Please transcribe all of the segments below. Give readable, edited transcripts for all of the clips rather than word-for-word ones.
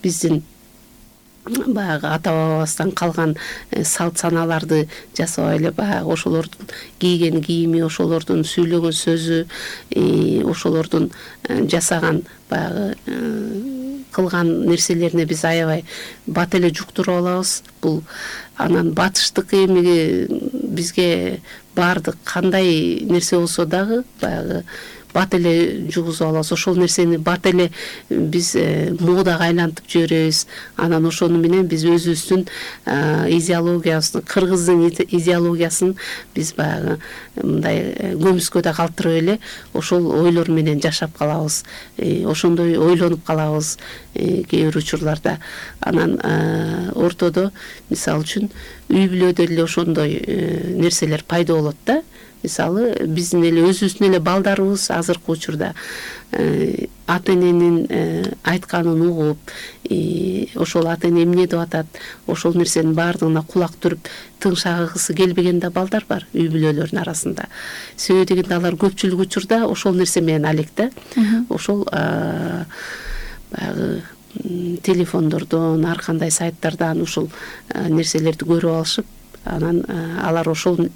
биздин баягы ата бабабыздан калган салт санааларды жасабай эле баягы ошолордун кийген кийими, ошолордун сүйлөгөн сөзү, ошолордун жасаган баягы кылган нерселерине биз аябай бат эле жуктуруп алабыз. Бул анан батыштык эми бизге баардык кандай нерсе болсо дагы баягы бат эле жугузуп алабыз. Ошол нерсени бат эле биз модага айлантып жиберебиз. Анан ошону менен биз өзүбүздүн идеологиябызды, кыргыздын идеологиясын биз баягы мындай көмүскөдө калтырып эле ошол ойлор менен жашап калабыз. Ошондой ойлонуп калабыз кээ бир учурларда. Анан ортодо мисалы үчүн үй бүлөдө эле ошондой нерселер пайда болот да. Мисалы биздин эле өзүбүздүн эле балдарыбыз азыркы учурда ата эненин айтканын угуп, ошол ата эне эмне деп атат, ошол нерсенин баардыгына кулак түрүп тыңшагысы келбеген да балдар бар үй бүлөлөрдүн арасында. Себеби дегенде алар көпчүлүк учурда ошол нерсе менен алек да. Ошол баягы телефондордон, ар кандай сайттардан ушул нерселерди көрүп алышып, анан алар ошол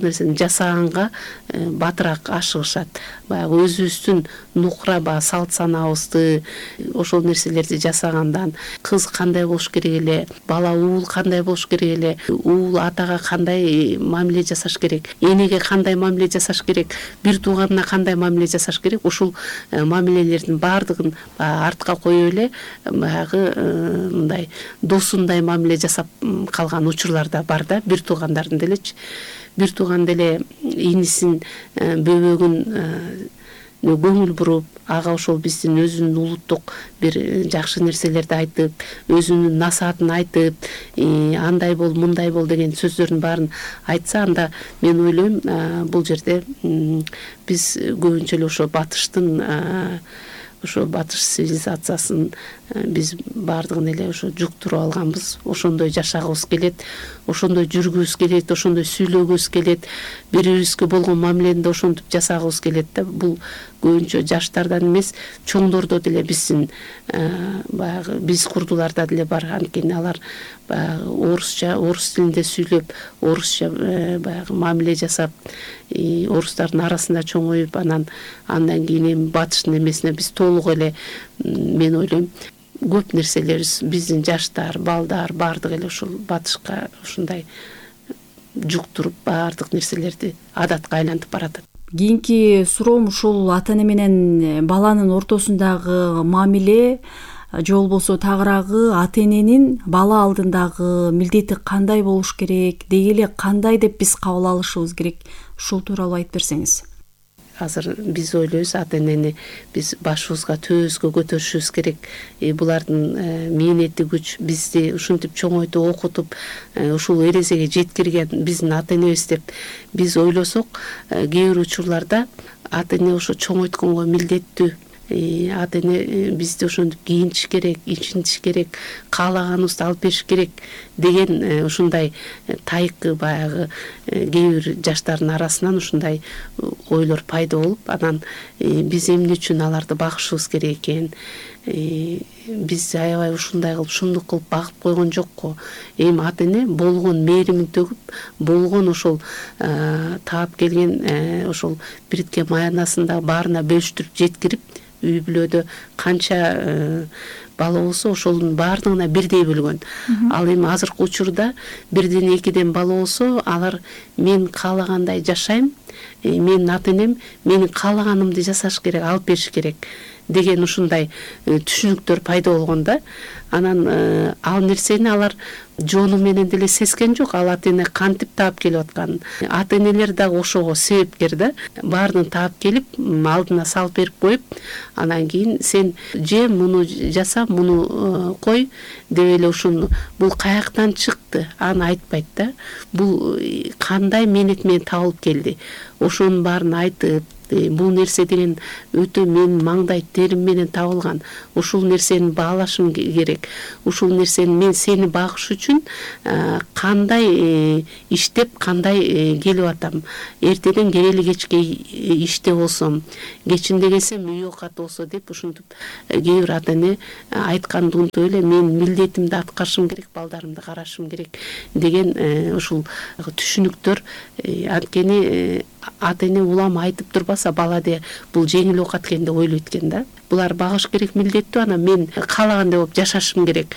нерсени жасаганга батыраак ашыгышат. Баягы өзүбүздүн нукура баягы салт санаабызды, ошол нерселерди жасагандан кыз кандай болуш керек эле, бала уул кандай болуш керек эле, уул атага кандай мамиле жасаш керек, энеге кандай мамиле жасаш керек, бир тууганына кандай мамиле жасаш керек, ушул мамилелердин баардыгын артка коюп эле баягы мындай досундай мамиле жасап калган учурлар да бар да, бир туугандардын делечи. Бир тууган деле инисин бөбөгүн көңүл буруп, ага ошол биздин өзүнүн улуттук бир жакшы нерселерди айтып, өзүнүн насаатын айтып, андай бол, мындай бол деген сөздөрдүн баарын айтса, анда мен ойлойм бул жерде биз көбүнчө эле ошо батыш цивилизациясын биз баардыгын эле ошо жуктуруп алганбыз. Ошондой жашагыбыз келет, ошондой жүргүбүз келет, ошондой сүйлөгүбүз келет, бири-бирибизге болгон мамилени ошентип жасагыбыз келет да. Бул көбүнчө жаштардан эмес, чоңдордо деле биздин баягы биз курдуларда деле бар. Анткени алар баягы орус тилинде сүйлөп, орусча баягы мамиле жасап, орустардын арасында чоңоюп, андан кийин эми батыштын эмесине биз толук эле, мен ойлойм, көп нерселерибиз биздин жаштар, балдар баардыгы эле ушул батышка ушундай жуктуруп баардык нерселерди адатка айлантып баратат. Кийинки суроом ушул ата эне менен баланын ортосундагы мамиле же болбосо тагыраагы ата эненин бала алдындагы милдети кандай болуш керек, деги эле кандай деп биз кабыл алышыбыз керек, ушул тууралуу айтып берсеңиз. Азыр биз ойлойбуз ата энени биз башыбызга, төбөбүзгө көтөрүшүбүз керек. Булардын мээнети күч, бизди ушинтип чоңойтуп, окутуп, ушул эрезеге жеткирген биздин ата энебиз деп биз ойлосок, кээ бир учурларда ата эне ошо чоңойтконго милдеттүү. Ата эне бизди ошентип кийинтиш керек, ичинтиш керек, каалаганыбызды алып бериш керек деген ушундай тайкы баягы кээ бир жаштардын арасынан ушундай ойлор пайда болуп, анан биз эмне үчүн аларды багышыбыз керек экен, биз аябай ушундай кылып, ушундук кылып багып койгон жокко. Эми ата эне болгон мээримин төгүп, болгон ошол таап келген ошол бириткен маянасын да баарына бөлүштүрүп жеткирип, үй бүлөдө канча бала болсо ошонун баардыгына бирдей бөлгөн. Ал эми азыркы учурда бирден экиден бала болсо, алар мен каалагандай жашайм, менин ата энем менин каалаганымды жасаш керек, алып бериш керек деген ушундай түшүнүктөр пайда болгон да. Анан ал нерсени алар жону менен деле сезген жок, ал ата эне кантип таап келип атканын. Ата энелер дагы ошого себепкер да. Баарын таап келип, алдына салып берип коюп, анан кийин сен же муну жаса, муну кой деп эле ушуну бул каяктан чыкты, аны айтпайт да. Бул кандай мээнет менен табылып келди. Ошонун баарын айтып, бул нерсе деген өтө менин маңдай терим менен табылган. Ушул нерсени баалашым керек. Ушул нерсени мен сени багыш үчүн кандай иштеп, кандай келип атам. Эртеден келели кечке иште болсом, кечинде келсем үй оокаты болсо деп ушинтип кээ бир ата эне айтканды унутуп эле мен милдетимди аткарышым керек, балдарымды карашым керек деген ушул түшүнүктөр. Анткени ата эне улам айтып турбаса бала де бул жеңил оокат экен деп ойлойт экен да. Булар багыш керек милдеттүү, анан мен каалагандай болуп жашашым керек.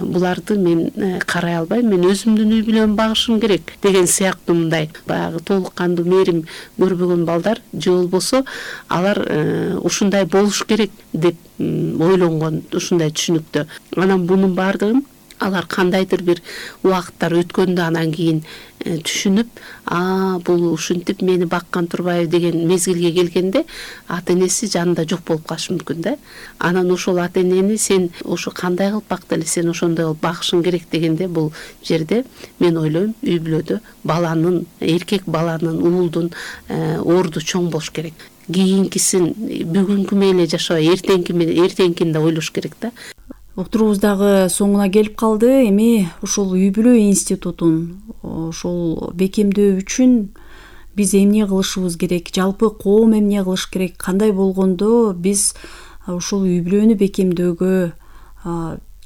Буларды мен карай албайм, мен өзүмдүн үй бүлөмдү багышым керек деген сыяктуу мындай баягы толук кандуу мээрим көрбөгөн балдар же болбосо алар ушундай болуш керек деп ойлонгон ушундай түшүнүктө. Анан бунун баардыгын алар кандайдыр бир убакыттар өткөндө анан кийин түшүнүп, бул ушинтип мени баккан турбайбы деген мезгилге келгенде ата энеси жанында жок болуп калышы мүмкүн да. Анан ошол ата энени сен ошо кандай кылып бактың эле, сен ошондой кылып багышың керек дегенде бул жерде мен ойлойм үй бүлөдө баланын, эркек баланын, уулдун орду чоң болуш керек. Кийинкисин бүгүнкү менен эле жашабай, эртеңкини да ойлош керек да. Уктуруубуз дагы соңуна келип калды. Эми ушул үй бүлө институтун ошол бекемдөө үчүн биз эмне кылышыбыз керек, жалпы коом эмне кылыш керек, кандай болгондо биз ушул үй бүлөнү бекемдөөгө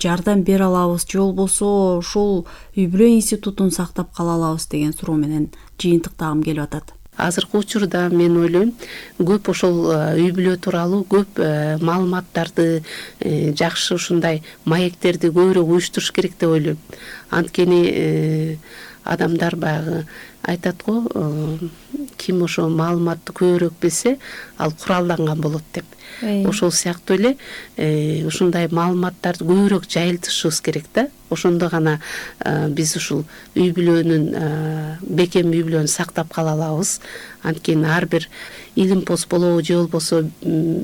жардам бере алабыз, же болбосо ушул үй бүлө институтун сактап кала алабыз деген суроо менен жыйынтыктагым келип атат. Азыркы учурда мен ойлойм көп ошол үй бүлө тууралуу көп маалыматтарды, жакшы ушундай маектерди көбүрөөк уюштуруш керек деп ойлойм. Анткени адамдар баягы айтат го, ким ошо маалыматты көбүрөөк билсе, ал куралданган болот деп. Ошол сыяктуу эле ушундай маалыматтарды көбүрөөк жайылтышыбыз керек да. Ошондо гана биз ушул үй бүлөнүн, бекем үй бүлөнү сактап кала алабыз. Анткени ар бир илим пост болобу же болбосо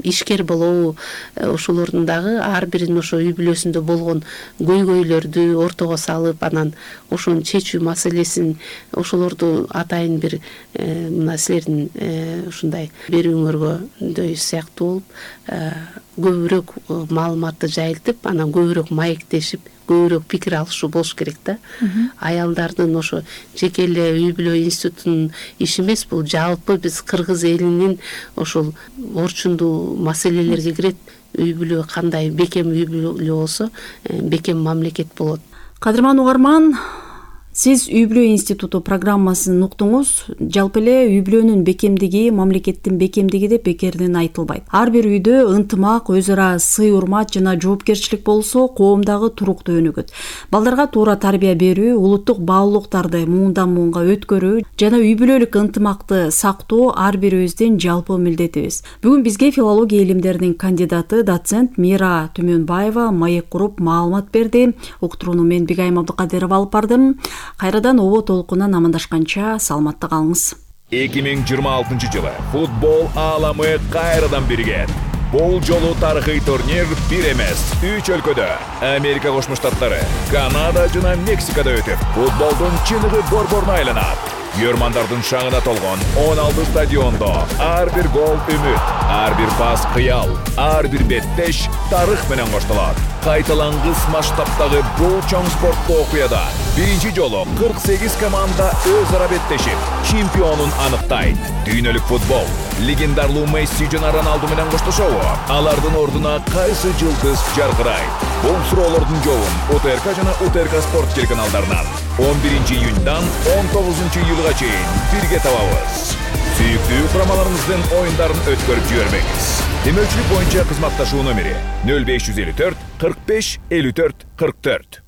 ишкер болобу, ошолордун дагы ар биринин ошо үй бүлөсүндө болгон көйгөйлөрдү ортого салып, анан ошону чечүү маселесин ошолорду атайын бир мына силердин ушундай берүүңөргөдөй сыяктуу болуп көбүрөөк маалыматты жайылтып, анан көбүрөөк маектешип, көбүрөөк пикир алышуу болуш керек да. Аялдардын ошо жеке эле үй бүлө институтунун иши эмес, бул жалпы биз кыргыз элинин ошол орчундуу маселелерге кирет. Үй бүлө кандай бекем үй бүлө болсо, бекем мамлекет болот. Кадырман угарман, сиз үй бүлө институту программасын уктуңуз. Жалпы эле үй бүлөнүн бекемдиги, мамлекеттин бекемдиги деп бекерден айтылбайт. Ар бир үйдө ынтымак, өз ара сый урмат жана жоопкерчилик болсо, коом дагы туруктуу өнүгөт. Балдарга туура тарбия берүү, улуттук баалуулуктарды муундан муунга өткөрүү жана үй бүлөлүк ынтымакты сактоо ар бирибиздин жалпы милдетибиз. Бүгүн бизге филология илимдеринин кандидаты, доцент Мира Түмөнбаева маек куруп маалымат берди. Уктурууну мен Бигайым Абдыкадырова алып бардым. Кайрадан обо толкунан амандашканча саламатта калыңыз. 2026 жылы футбол ааламы кайрадан биригет. Бул жолу тарыхый турнир бир эмес, 3 өлкөдө, Америка Кошмо Штаттары, Канада жана Мексикада өтүп, футболдун чыныгы борборуна айланат. Көрмандардын шаңына толгон 16 стадиондо ар бир гол үмүт, ар бир пас кыял, ар бир беттеш тарых менен коштолот. Кайталангыс масштабтагы бул чоң спорттуу окуяда биринчи жолу 48 команда өз ара беттешип, чемпионун аныктайт. Дүйнөлүк футбол легендарлуу Месси жана Роналду менен коштошобу? Алардын ордуна кайсы жылдыз жаркырайт? Бул суроолордун жообун УТРК жана УТРК спорт телеканалдарынан 11 июньдан 19 июлга чейин бирге табабыз. Сүйүктүү курамаларыңыздын оюндарын өткөрүп жибербеңиз. Демөүчүлүк боюнча кызматташуу номери 0554 45 54 44.